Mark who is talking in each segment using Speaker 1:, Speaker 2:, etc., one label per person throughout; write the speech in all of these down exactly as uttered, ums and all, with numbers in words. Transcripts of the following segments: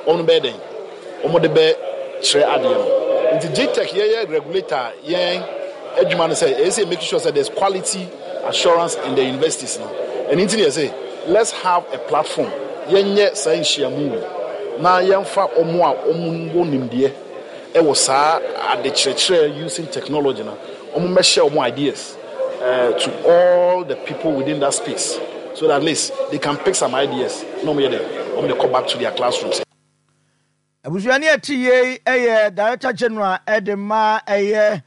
Speaker 1: Wɔn bɛyɛ dɛn? Wɔn de bɛ kyerɛ adeɛ no. Nti G T E C yɛyɛ regulator, yɛn adwuma no sɛ ɛyɛ sɛ make sure sɛ there's quality assurance in the universities no. Ɛno nti ne yɛ sɛ let's have a platform, yɛnyɛ saa nhyiamu yi na yɛmfa ɔmo a ɔmo wɔ nimdeɛ ɛwɔ saa adekyerɛkyerɛ using technology no, ɔmo mmɛhyɛ ɔmo ideas uh, to all the people within that space so that at least they can pick some ideas na ɔmo yɛ dɛ ɔmo de kɔ back to their classrooms.
Speaker 2: Abusuani ɛte yie ɛyɛ Director General ɛde ma ɛyɛ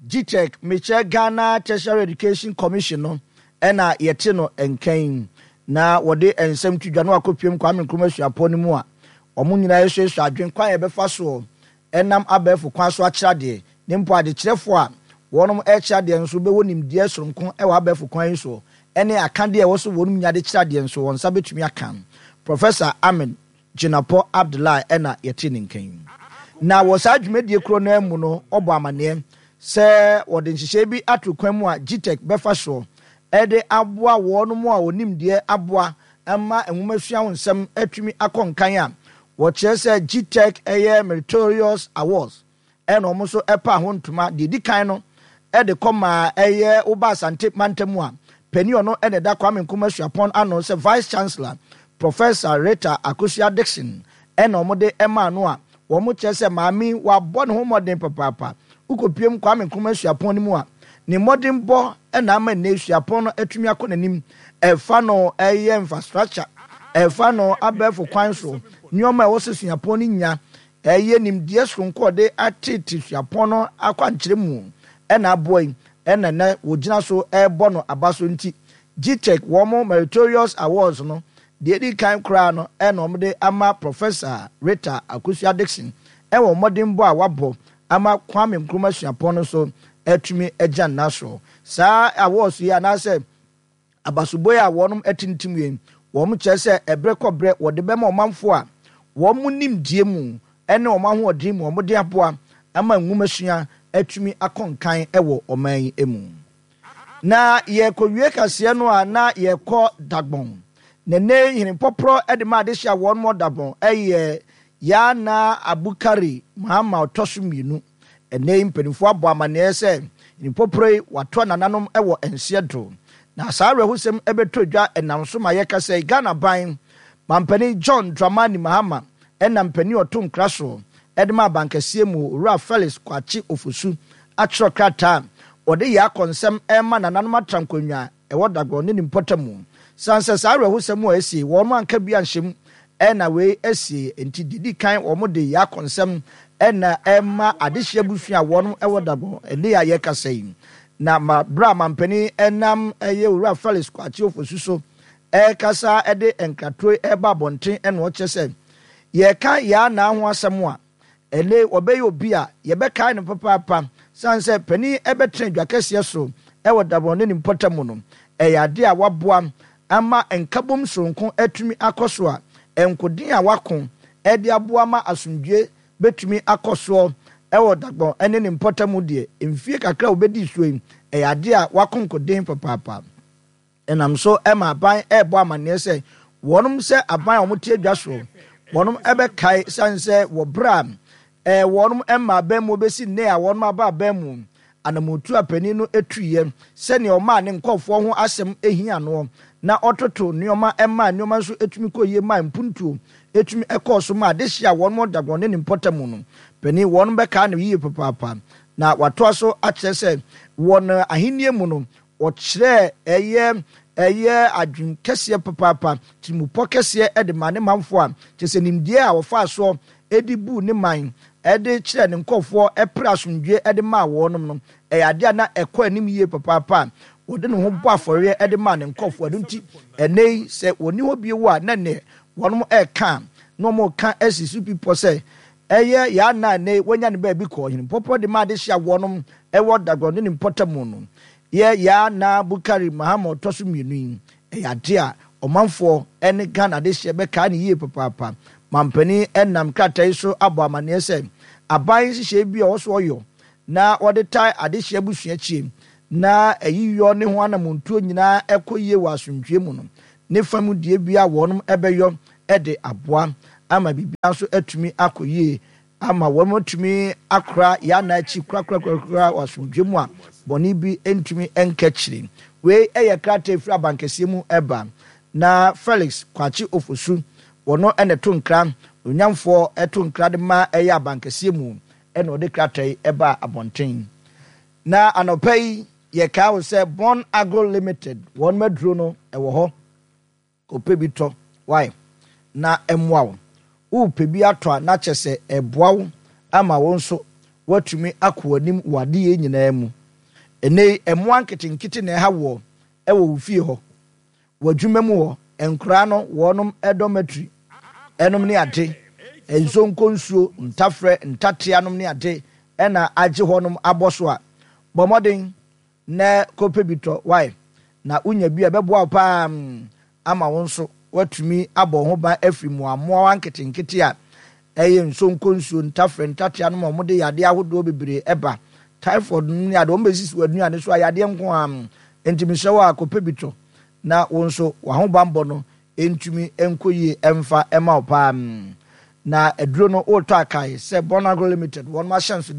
Speaker 2: G T E C, mekyɛ Ghana Tertiary Education Commission no, ɛna yɛte no nkan na wɔde nsɛm to dwa no akɔpiem Kwame Nkrumah Suapɔn no mu a wɔn nyinaa asuasua adwene kwan a yɛbɛfa soɔ ɛnam abɛɛfo kwan so akyerɛ adeɛ, ne mpo adekyerɛfoɔ a wɔn ɛrekyerɛ adeɛ nso bɛwɔ nimdeɛ soronko ɛwɔ abɛɛfo kwan yi soɔ, ɛne akadeɛ a ɛwɔ so wɔn nya de kyerɛ adeɛ nso wɔn nsa bɛtumi aka. Professor Ahmed Jinapor Abdullahi ɛna yɛte ne nkan. Na wɔ saa dwumadie koro no mu no, ɔbɔ amanneɛ sɛ wɔde nhyehyɛe bi ato kwan mu a G T E C bɛfa soɔ ɛde aboa wɔn mu a wɔnim deɛ aboa ama nwomasua ho nsɛm atumi akɔ nkan, a wɔkyerɛ sɛ G T E C ɛyɛ Meritorious Awards, ɛna wɔn nso ɛpa ho ntoma. Deɛ di kan no ɛde kɔ maa ɛyɛ woba Asante mantam a, panin ɔno ɛna ɛda Kwame Nkrumah Suapɔn ano sɛ Vice Chancellor, Professor Rita Akosua Dixon, ɛna wɔn de ɛmaa no, a wɔn kyerɛ sɛ maame wabɔ ne ho mmɔden papaapa. Wokɔpiem Kwame Nkrumah Suapɔn no mu a, ne mmɔdenbɔ ɛna ama nne suapɔn no atumi akɔ n'anim, ɛfa no ɛyɛ infrastructure, ɛfa no abɛɛfo kwan so nneɛma a ɛwɔ sɛ suapɔn no nya, ɛyɛ nimdeɛ soronko a ɔde atete suapɔn no akwankyerɛ mu ɛna aboa yi, ɛna nɛ wɔgyina so ɛrebɔ no aba so. Nti G T E C wɔn Meritorious Awards no, deɛ edi kan koraa no ɛna wɔde ama Professor Rita Akosua Dixon ɛwɔ mmɔdenbɔ a wabɔ ama Kwame Nkrumah Suapɔn no so atumi agya nna so. Saa awards yi anaasɛ abasobɔ yi a wɔn atintim yi, wɔn kyerɛ sɛ ɛbrɛ kɔbrɛ wɔde bɛma ɔmanfoɔ a wɔn mu nimdeɛ mu ɛne wɔn ahoɔden mu wɔn de aboa ama nwomasua atumi akɔ nkan ɛwɔ ɔman yi mu. Na yɛkɔwie kaseɛ no a, na yɛkɔ Dagbɔn na ne henepɔporɔ de ma adehyɛ a wɔn mo Dagbɔn ɛyɛ Yana Abukari Mahama ɔtɔ so mmienu. Ɛnɛ yi mpanimfoɔ abɔ amanneɛ sɛ henepɔporɔ yi watoa nananom wɔ nseɛ do, na saa awerɛhosɛm ɛbɛtɔ dwa ɛnam so ma yɛka sɛ Ghana ban mampanin John Dramani Mahama ɛna mpanin ɔto nkra so ɛde ma abankɛseɛ mu, Owura Felix Kwakye Ofosu, atwerɛ krataa wɔde yɛ akɔnsɛm ɛma nananom atra nkonnwa ɛwɔ Dagbɔn ne ne mpɔtam mu, san sɛ saa awerɛhosɛm a ɛsie wɔn anka bi anhyɛ ɛna wei asie. Nti didi kan wɔn de yɛ akɔnsɛm ɛna ɛma adehyɛ abusua a wɔn ɛwɔ Dagbɔn ɛne a yɛkasa yi. Na ma bere a mampanin ɛnam ɛyɛ Owura Felix Kwakye Ofosu so ɛrekasa ɛde nkratoro ɛreba abɔnten, ɛna ɔkyerɛ sɛ yɛka yɛa naa ho asɛm a, ɛnɛ wɔbɛyɛ obi a yɛbɛkae no papaapa, san sɛ panin ɛbɛtena dwa kɛseɛ so ɛwɔ Dagbɔn ne ne mpɔtam mu no, ɛyɛ ade a waboa ama nkabom soronko atumi akɔ so, a nkoden a wako ɛde aboa ma asomdwe bɛtumi akɔ soɔ ɛwɔ Dagbɔn ɛne ne mpɔtam deɛ. Mfie kakra a wɔbɛdi soɔ yi, ɛyɛ ade a wako nkoden papaapa. Ɛnam so ɛma aban ɛrebɔ amanneɛ sɛ wɔnom sɛ aban a wɔte adwa soɔ, wɔnom ɛbɛkae sane sɛ wɔ berɛ a ɛɛ wɔnom ɛma aban mu bɛsi nne a wɔnom aba aban mu, anamotu a panin no etuiɛ sɛnea ɔmaa ne nkɔfoɔ ho asɛm ehia noɔ na ɔtoto nneɛma ɛmaa nneɛma nso etumi kɔ yie, maa mpuntuo etumi ɛkɔɔ so ma adehyɛ a wɔn Dagbɔn ne ne mpɔtam no, panin wɔn bɛkaa no yie papaapa. Na watoa so akyerɛ sɛ wɔn ahennie mu no, ɔkyerɛ ɛyɛ ɛyɛ adwene kɛseɛ papaapa, tirimupɔ kɛseɛ ɛde ma ne manfoɔ, a kyerɛ sɛ nimdeɛ a wɔfaa soɔ ɛde buu ne man, ɛde kyerɛ ne nkɔfoɔ, ɛpere asomdwe ɛde maa wɔnom no, ɛyɛ adeɛ a na ɛkɔ anim yie papaapa, a wɔde ne ho bɔ afɔreɛ ɛde maa ne nkɔfoɔ. Ɛno nti ɛnɛ yi sɛ wɔni hɔ bio a, na neɛ wɔnom ɛreka na wɔn ka asi so pipɔ sɛ ɛyɛ yaa na ɛnɛ wɔanya ne baabi kɔ. Ɔhene pɔpɔ de ma adehyɛ a wɔnom ɛwɔ Dagbɔn ne ne mpɔtam no yɛ yaa na Bukari Mahama ɔtɔ so mmienu yi, ɛyɛ ade a ɔmanfoɔ ne Ghana adehyɛ bɛkaa ne yie papaapa. Mampanin nam krataa yi so abɔ amanneɛ sɛ aban nhyehyɛe bi a ɔwɔ so ɔyɔ na wɔde tae adehyɛ abusua akyi na ayiyɔ ne ho anamontuo nyinaa ɛkɔ yie wɔ asomdwie mu no, ne fam deɛ bi a wɔnom ɛbɛyɔ ɛde aboa ama biribiara nso atumi akɔ yie ama wɔatumi akora yɛn anan akyi korakorakorakora wɔ asomdwoe mu a bɔne bi ntumi nka akyiri. Wei yɛ krataa a ɛfiri abankɛseɛ mu ba. Na Felix Kwakye Ofosu, wɔno na ɛto nkra, onyamfoɔ to nkra de ma ɛyɛ abankɛseɛ mu ɛna ɔde krataa yi baa abɔnten. Na anɔpa yi yɛkae wo sɛ Bon Agro Limited wɔn aduro no ɛwɔ hɔ. Kɔpɛ bi tɔ wai na ɛmmoa wo. Worepɛ bi atɔ a na kyerɛ sɛ ɛreboa wo ama wo nso woatumi akɔ w'anim wɔ adeyɛ nyinaa mu. Ɛnnɛ yi mmoa nketenkete na ɛha woɔ wɔ wo fie hɔ, w'adwuma mu hɔ, nkoraa no wɔnom dormitory nom ne ade, nsonkɔ nsuo, ntafrɛ, ntatea nom ne ade na agye hɔnom abɔ so a, bɔ mmɔden na kɔpɛ bi tɔ wai na wonya bi a ɛbɛboa wo paa ama wo nso woatumi abɔ wo ho ban afiri mmoammoawa nketenkete a ɛyɛ nsonkonsuo, ntafrɛ, ntatea nom a wɔde yadeɛ ahodoɔ bebree ɛba, typhoid nom ne adeɛ, wɔn bɛsisi w'aduane so a yadeɛ nko ara. Nti mesrɛ wo a kɔpɛ bi tɔ na wo nso w'ahobanbɔ no ntumi nkɔ yie ɛmfa ɛma wo paa. Na aduro no wotɔ a kae sɛ Bonagro Limited wɔn ahyɛnsodeɛ